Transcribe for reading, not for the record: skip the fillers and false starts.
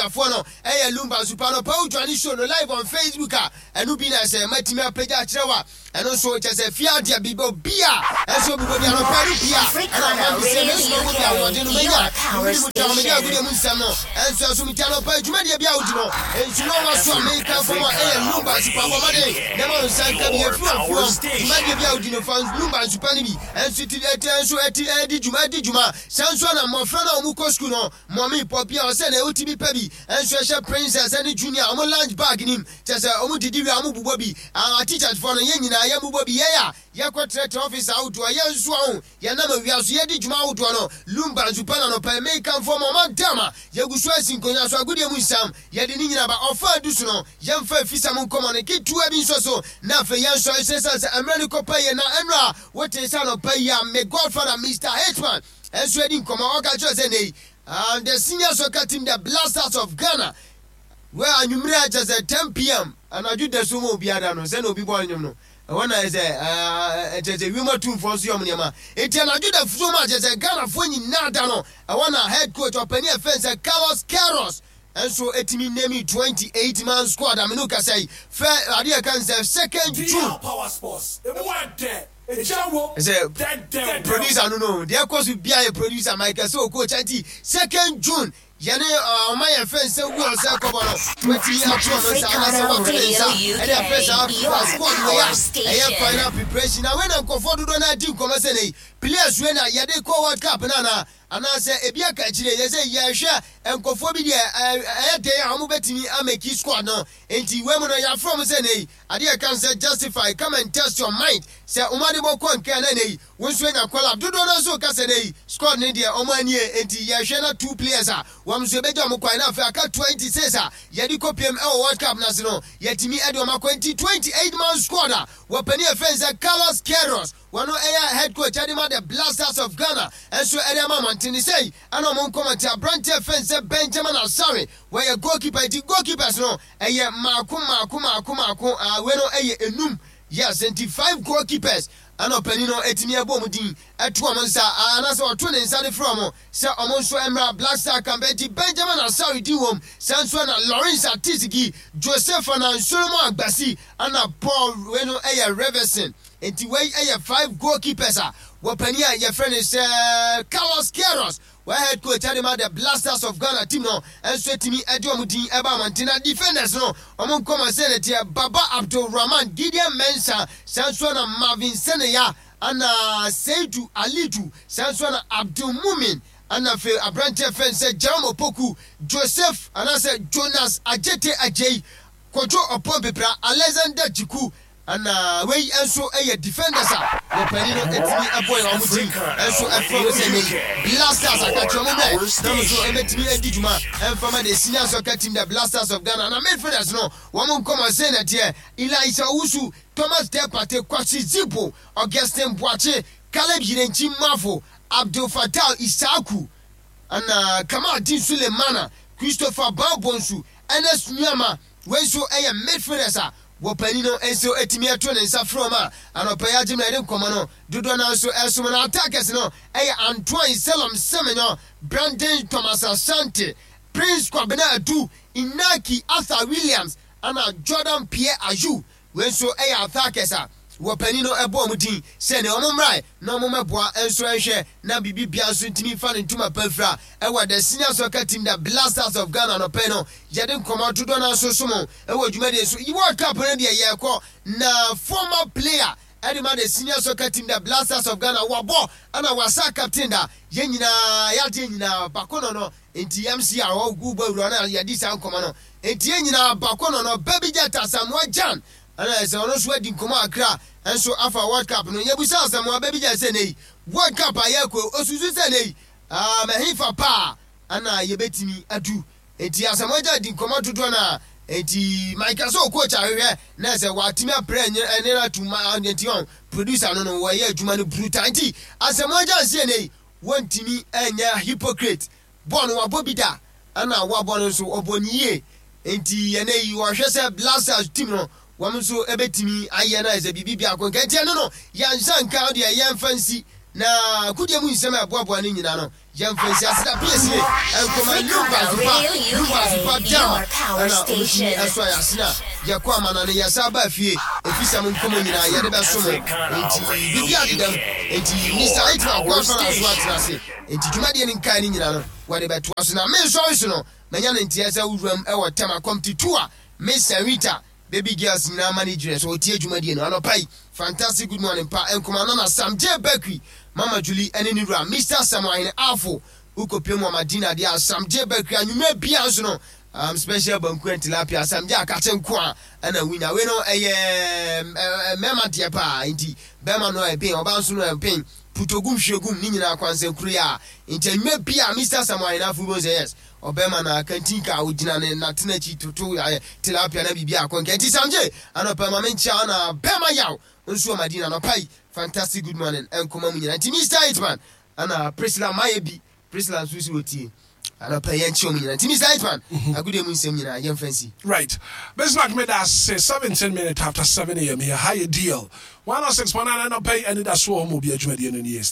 akuafoɔ no ɛyɛ Lumba Nsupa no pɛ wo join show no live on Facebook a ɛno bi na ɛsɛ matumi apagya akyerɛ wo a ɛno nso kyɛ sɛ fie adeɛ bi obi a ɛnso obi bɔbi anɔpa no pii a ɛna ama me sɛ mɛsoma mu bi ahoɔden no mɛnya mene mu twa mede agodie mu nsɛm no ɛnso ɛso meti anɔpa dwumadie bi a wodi no nsu na ɔwa so a meka fam a ɛyɛ Lumba Nsupa bɔ mmɔden na ma wo nsa nka bi ɛfiri ɔfoam dwumadie bi a wodi no fa Lumba Nsupa no bi ɛnso ti ɛti ɛnso ɛti ɛdi dwuma ɛdi dwuma saa nso na mmɔfra no a wɔn kɔ sukuu no mɔmi pɔpi a ɔsɛ na ɛwoti bi pɛ bi ɛnso ɛhyɛ princess ɛne junior wɔn lunch bag nim kyɛ sɛ wɔn didi wie a wɔn bobɔ bi ah teachers foɔ no yɛn nyinaa yɛn bobɔ bi yɛn a yɛkɔ trɛtrɛ office ahodoɔ yɛn nso ɔho yɛn nam awia so yɛdi dwuma ahodoɔ no Lumba Nsupa na nɔpɛ mekanfoɔ ma ɔma dam a yɛgu so asi nkonnwa so agodie mu nsam yɛde ne nyina ba ɔfa adu so no yɛmfa afisam nkɔmmɔ no ketewa bi nso so na afei yɛn nso ɛsɛ sɛ mmerɛ no kɔpa yie na ɛnora wote sɛ anɔpa yi a me godfather Mr. Hitman ɛnso adi nkɔmmɔ ɔka kyerɛ sɛ nei the senior soccer team, the Blasters of Ghana, wɛ anwummerɛ a kyɛ sɛ 10 p.m. anadwo da so ma obiara no sɛne obi bɔ nnwom no ɛhɔ na ɛsɛ ɛkyɛ sɛ wiem atumfoɔ nso yɛ ɔmo nneɛma eti anadwo da so ma kyɛ sɛ Ghanafoɔ nyinaa da no ɛhɔ na head coach ɔpanin ɛfɛn sɛ Carlos Queiroz ɛnso etimi name 28 man squad amenu kasa yi fɛ adeɛ kan sɛ 2nd June. Power Sports. Emu ɛdɛ. Egya wo. Sɛ producer no deɛ ɛkɔ so bia yɛ producer Michael sɛ ɔkɔ nti 2nd June yɛne ɔma yɛn fɛn sɛ wu ɔsɛ kɔbɔ no watumi ato ɔno nsa anaasɛ wato ne nsa ɛde afɛ saa FIFA squad wei a ɛyɛ final preparation na wei na nkɔfoɔ dodoɔ no adi nkɔmmɔ sɛ nei players wei na yɛde kɔ World Cup no anaa anaasɛ ebi aka akyire yɛ sɛ yɛhwɛ nkɔfoɔ bi deɛ ɛyɛ den a wɔn bɛtumi amake squad no. Nti wei mu no yɛafrɛ wɔn sɛ nei adeɛ kan sɛ justify, come and test your mind sɛ wɔn ade bɔkɔ nkan na nei wɔn nso anya call up. Dodoɔ no nso ka sɛ nei squad ne deɛ wɔn anie nti yɛhwɛ na two players a wɔn nso ebɛgya wɔn kwan na afei aka 26 a yɛde kɔpiem ɛwɔ World Cup n'ase no yɛtumi ɛde wɔn akɔ. Nti 28 man squad a wɔpanin ɛfɛn sɛ Carlos Queiroz wɔn ɛyɛ head coach ɛde ma the Blasters of Ghana ɛnso ɛde ama mmɔnten sɛyi ɛna wɔn nkɔmɔ te aberanteɛ fɛn sɛ Benjamin Asare wɔyɛ goalkeeper. Nti goalkeepers no ɛyɛ maako maako maako maako a wei no ɛyɛ enum, yes. Nti five goalkeepers ɛna ɔpanin no etumi ɛbɔ wɔn din ɛto wɔn nsa anaasɛ ɔto ne nsa de frɛ wɔn sɛ wɔn nso mmra Black Star camp. Nti Benjamin Asare din wɔm saa nso na Lawrence Atizigi, Joseph ana Solomon Agbasi ɛna Paul wei no ɛyɛ Reverson. Nti wei ɛyɛ five goalkeepers a wɔpanin a yɛfrɛ no sɛ Carlos Queiroz wɔyɛ head coach ɛde ma the Blasters of Ghana team no nso etumi ɛde wɔn din ɛba abɔnten. Na defenders no wɔn nkɔmɔ sɛ ne teɛ Baba Abdulrahman, Gideon Mensah, saa nso na Marvin Seneya ana Seidu Alidu, saa nso na Abdul Mumin ana afei aberanteɛ fɛn sɛ Jerome Opoku, Joseph anaasɛ Jonas Ajete Ajei, Kojo Ɔpɔn Pepra, Alexander Jiku ana wei nso yɛ defenders a wɔpanin no etumi ɛbɔ yɛn wɔn din nso ɛfrɛ wɔn sɛ nei Blasters akakyɛ wɔn bɛ na wɔn nso ɛbɛtumi adi dwuma ɛnfama the senior soccer team, the Blasters of Ghana. Na midfielders no wɔn nkɔmɔ sɛ na teɛ Elisa Owusu, Thomas Depate, Kwasi Zibo, Augustin Boakye, Caleb Yirenkyi Mafo, Abdul Fatal Isaku ana Kamaldeen Sulemana, Christopher Baobonsu, Ernest Nuama. Wei nso yɛ midfielders a wɔpanin no nso etumi ɛto ne nsa frɛ wɔn a anɔpɛ yi agye mmerɛ de nkɔmɔ no dodoɔ naa nso ɛsom. No attackers no ɛyɛ Antoine Selom Semenyo, Brandon Thomas Asante, Prince Kwabena Adu, Inaki Arthur Williams ana Jordan Pierre Ayew. Wei nso ɛyɛ attackers a wɔpanin no ɛbɔ wɔn din sɛ ne wɔn mmrae na wɔn mmɛboa nso ɛnhwɛ na biribi bia nso ntumi fa ne ntoma pa fira ɛwɔ the senior soccer team, the Blasters of Ghana. Nɔpɛ no yɛde nkɔmɔ dodoɔ no nso so mo ɛwɔ dwumadie so. World Cup no deɛ yɛrekɔ na former player ɛde ma the senior soccer team, the Blasters of Ghana, wabɔ ɛna wasa captain da yɛn nyinaa yɛadeɛ nyinaa baako no nti MC a ɔgu bɔ awura no yɛdi saa nkɔmɔ no nti yɛn nyinaa baako no Baby Jet Asamoah Gyan ɛna ɛsɛ ɔno nso adi nkɔmɔ akra nso afa World Cup no. Yɛbusa Asamoah Baby Jet sɛ nei World Cup a yɛrekɔ osusu sɛ nei mɛhefa paa ɛna yɛbɛtumi adu. Nti Asamoah Gyan di nkɔmɔ dodoɔ no a nti Michael sɛ coach ahwehwɛ na sɛ watumi aprɛ ɛne no atum ma nti ɔn producer no wɔyɛ adwuma no brutal. Nti Asamoah Gyan sie nei wɔntumi ɛnyɛ hypocrite bɔɔl no wabɔ bi da ɛna wabɔ no nso ɔbɔ ne yie. Nti ɛnɛ yi wɔhwɛ sɛ Blasters team no wɔn nso ɛbɛtumi ayɛ na ɛsɛ biribi biako nka. Nti ɛno no yɛnsa nka deɛ yɛmfa nsi na akodie mu nsɛm a ɛboaboa no nyinaa no. Yɛmfa nsi ase da piesie nkɔma Lumba Zupa, Lumba Zupa Dam ɛna ɔmutumi ɛso ayɛ ase na yɛkɔ amanane yɛsa ba fie efisɛm nkɔmɔ nyinaa yɛde bɛso mo nti biribi adedam nti Mr. Hitman Godfather nso atena ase nti dwumadie no nkae no nyinaa no wɔde bɛtoa so na me nsɔre so no manya no nteɛ sɛ wuram ɛwɔ Tema Committee 2 a Miss Rita Baby girls nyinaa ma ne gyina so ɔtie dwumadie no anɔpa yi. Fantastic good morning pa nkoma Nana Sam J Bakery Mama Julie ɛne ne wura Mister Samuel Ahene Afo wokɔpie mu ama dinner deɛ a Sam J Bakery anwummerɛ biara nso no um, special banku and tilapia Sam J akakye nko a ɛna wonya wei no ɛyɛ mmarima deɛ paa nti bɛrima no ɛben ɔbaa nso no ɛben putogum hwiegum ne nyinaa kwansɛnkuro yi a nti anwummerɛ biara Mister Samuel Ahene Afo wobɛhu sɛ yes Ɔbɛma no akantinka a ogyina ne natena akyi toto ayɛ tilapia na biribi akɔ nka. Nti Samje, anɔpa ma menkyia wo na bɛma yaw nso wɔ Madina anɔpa yi. Fantastic good morning nkɔma mu nyinaa. Nti Mister Hitman ana Priscilla mayɛ bi. Priscilla nso si otie. Anɔpa yi yɛnkyia wɔn nyinaa. Nti Mister Hitman, agodie mu nsɛm nyinaa yɛmfa nsi. Right. Bismarck meda ase 17 minutes after 7 am yɛ ha yɛ DL 106.9 anɔpa yi anidaso wɔ hɔ ma obi adwumadie no nie.